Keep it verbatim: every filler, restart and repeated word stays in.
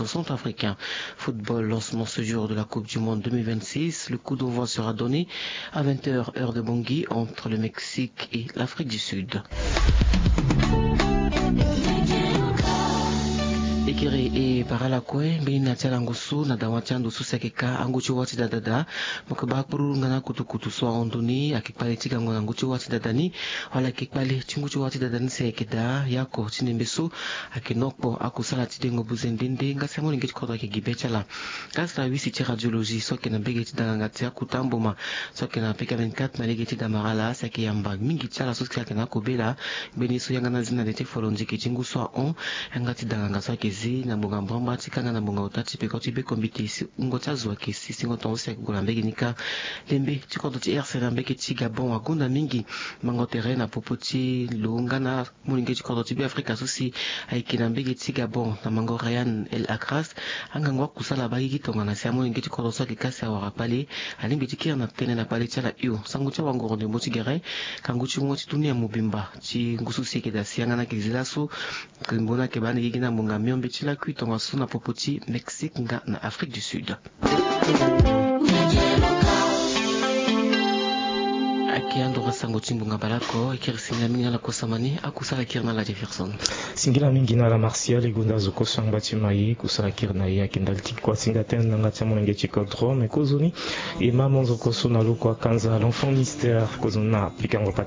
centrafricain. Football, lancement ce jour de la Coupe du Monde deux mille vingt-six. Le coup d'envoi sera donné à vingt heures, heure de Bangui, entre le Mexique et l'Afrique du Sud. Ekere e parala kue mbeni na ti ala ngusu na dawa ti ando so si ayeke ka angu ti wâ ti dada daa. Mo yeke baa kpuru nga na kutukutu so ahon ndo ni ayeke kpale ti gango na ngu ti wâ ti dada ni. Wala ayeke kpale ti ngu ti wâ ti dada ni si ayeke daa yako ti nembe so ayeke nokpo akusala ti dengo buze nde nde nga si amolenge ti kodro ayeke gi be ti ala. Nga si na wisi ti radiologie so ayeke na mbege ti danganga ti akuta mboma so ayeke na peka vingt-quatre na lege ti damarala si ayeke yamba mingi ti ala so si ayeke na akobela. Mbeni so yanga na zi na le ti folo nziki ti ngu so ahon yanga ti danganga so ayeke zi na ngbonga mbrambra ti kanga na ngbonga ota ti peko ti be kombite si wungo ti azo ayeke si singo tongo so si ayeke gue na mbege ni kâ. Lembe ti kodro ti R C na mbege ti Gabon agonda mingi mango tere na popo ti lo nga na molenge ti kodro ti Beafrika so si ayeke na mbege ti Gabon na mango Rayan El Akras. Angangu akusala abaa gigi tongana si amolenge ti kodro so ayeke ka si awara kpale alingbi ti kiri na tënë na kpale ti ala hio. Sango ti awangoro ndembo ti gere kangu ti wungo ti dunia mobimba ti ngu so si ayeke daa si yanga na ayeke zi laso. Ndembo ni ayeke baa ni gigi na ngbonga miombe ti lakui tongaso na popo ti Mexique nga na Afrique du Sud. Ayeke ando ka sango ti ngbonga baleoko. Ekiri singila mingi na ala kosama ni akusala kiri na ala Jefferson. Singila mingi na ala Martial e gonda azo kue so angba ti ma ye kusala kiri na ye ayeke ndali ti kua singa tënë na yanga ti amolenge ti kodro me kozoni. E ma monzo kue so na loko akanza l'enfant mystère kozoni na pikango pa